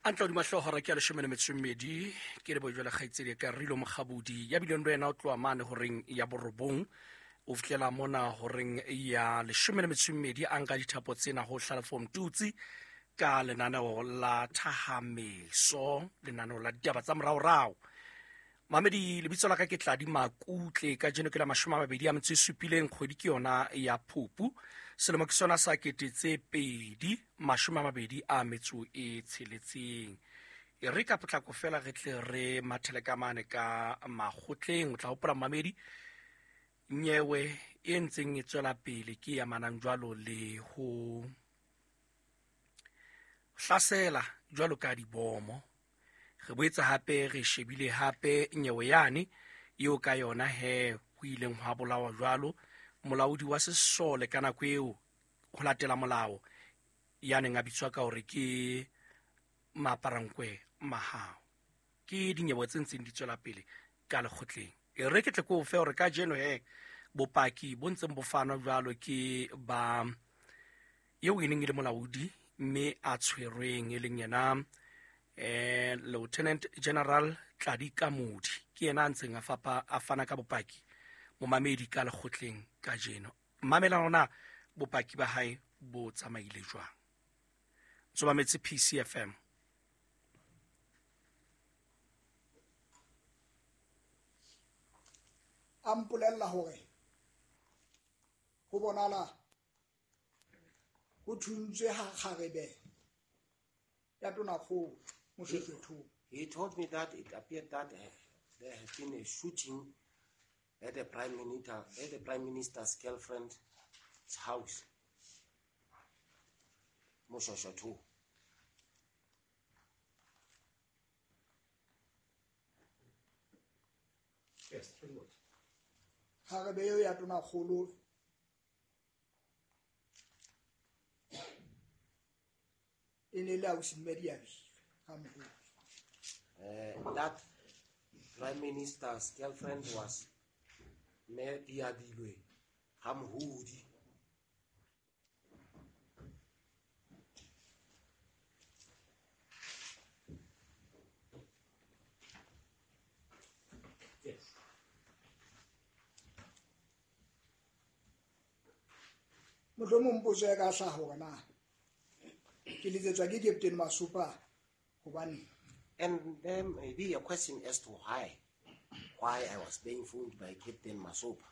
A ntla hodima hlooho hora ke ya 12 ke lebo jwale kgaitsedi ka Rilo Mokgabudi ya bileng le wena o tloha mane horeng ya 9 o fihlela mona horeng ya 12 a nka dithapo tsena ho Hlalefo Mtutsi ka lenaneo la Thahameso, lenaneo la ditaba tsa moraorao. Mamedi, lebitso la ka ke Tladi Makutle. Kajeno ke la 27 kgwedi ke yona ya Phupu, selemo ke sona sa 2026. E re ka potlako fela re tle re mathele ka mane ka makgotleng. O tla hopola mamedi, nyewe e ntseng e tswela pele ke e amanang jwalo le ho hlasela jwalo ka dibomo. Re boetse hape re shebile hape nyewe yane eo ka yona he ho ileng hwa bolawa jwalo molaodi wa sesole ka nako eo ho latela molao ya neng a bitswa ka hore ke Maaparankwe Mahao. Ke dinyewe tse ntseng di tswela pele ka lekgotleng. E re ke tle ko fe hore kajeno he bopaki bo ntseng bo fanwa jwalo ke ba eo e neng e le molaodi mme a tshwerweng e leng yena Lieutenant General Tladi Kamodi, ke yena a ntseng a fapa a fana ka bopaki momamedi ka lekgotleng kajeno. Mamela hona bopaki ba hae bo tsamaile jwang. Tsomametse PCFM. A mpolella hore ho bonala ho thuntswe ha kgarebe ya tonakgolo Moshoeshoe. He told me that it appeared that there had been a shooting at the prime minister, at the prime minister's girlfriend's house, Moshoeshoe. Yes, three words. Kgarebe eo ya tonakgolo e ne le ausi mme Diabilwe ga Mohodi. That prime minister's girlfriend was Mme Diabilwe ga Mohodi. Yes. Mohlomong potso e ka hlaha hore na ke letsetswa ke Captain Masopa hobane. And there may be a question as to why I was being phoned by Captain Masopa.